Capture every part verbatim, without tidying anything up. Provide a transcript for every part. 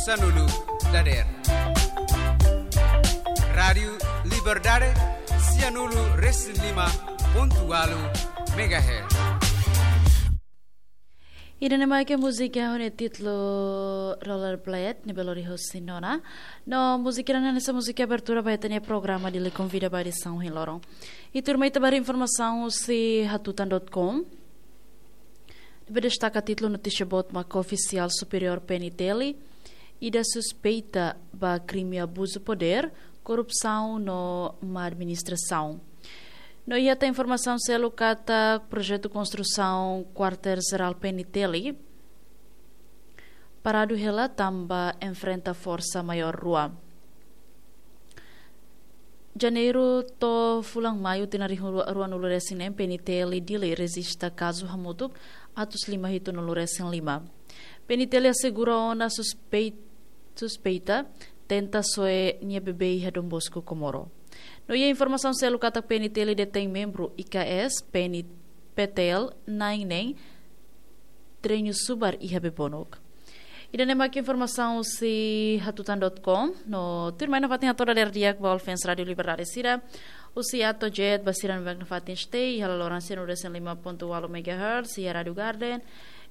Sanulu dader. Rádiu Liberdade, sianulu resin lima pontu walu megahertz. Ida-ne'e mak múzika ho nia títulu Rollerblade, ne'ebé lori husi Nona. No múzika ida-ne'e hanesan múzika abertura ba ita-nia programa Dili Konvida ba edisaun ohin loron. I tuirmai ita ba haree informasaun husi hatutan dot com. Ne'ebé destaka títulu notísia boot mak ofisiál superiór P N T L ida suspeita ba krime abuzu podér, korrupsaun no má administrasaun. No iha tan informasaun seluk katak projetu konstrusaun kuartél jerál P N T L paradu hela tanba enfrenta forsa maiór rua. Janeiru to'o fulan Maiu tinan rihun rua, ruanulu resin neen, P N T L Dili rejista kazu hamutuk atus lima hitunulu resin lima. P N T L asegura ona suspei-, suspeita tenta soe nia bebé iha Don Bosco Comoro. No iha informasaun seluk katak P N T L detein membru I K S, P N, P T L, na'in neen, treinu subar iha Bebonuk. Ida-ne'e mak informasaun husi hatutan dot com, no tuirmai nafatin hato'o dadeer di'ak ba fans Rádiu Liberdade sira, husi A to'o Z ba sira ne'ebé nafatin stay iha laloran sianulu resin lima pontu walu megahertz, iha Rádiu Garden,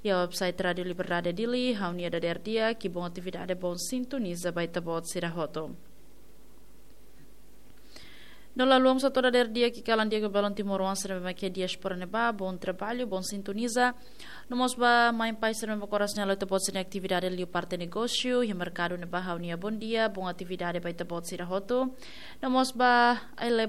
iha website Rádiu Liberdade Dili, ha'u-nia dadeer di'ak, i bom atividade, bom sintoniza ba ita-boot sira hotu. No la haluha mós hato'o dadeer di'ak i kalan di'ak ba balun timoroan sira ne'ebé mak iha diáspora ne'ebá, bom trabalho, bom sintoniza. No mós ba mãe pai sira ne'ebé mak oras ne'e halo ita-boot sira-nia atividade liu parte negósiu, iha merkadu ne'ebá ha'u-nia bom dia, bom atividade ba ita-boot sira hotu. No mós ba ai leba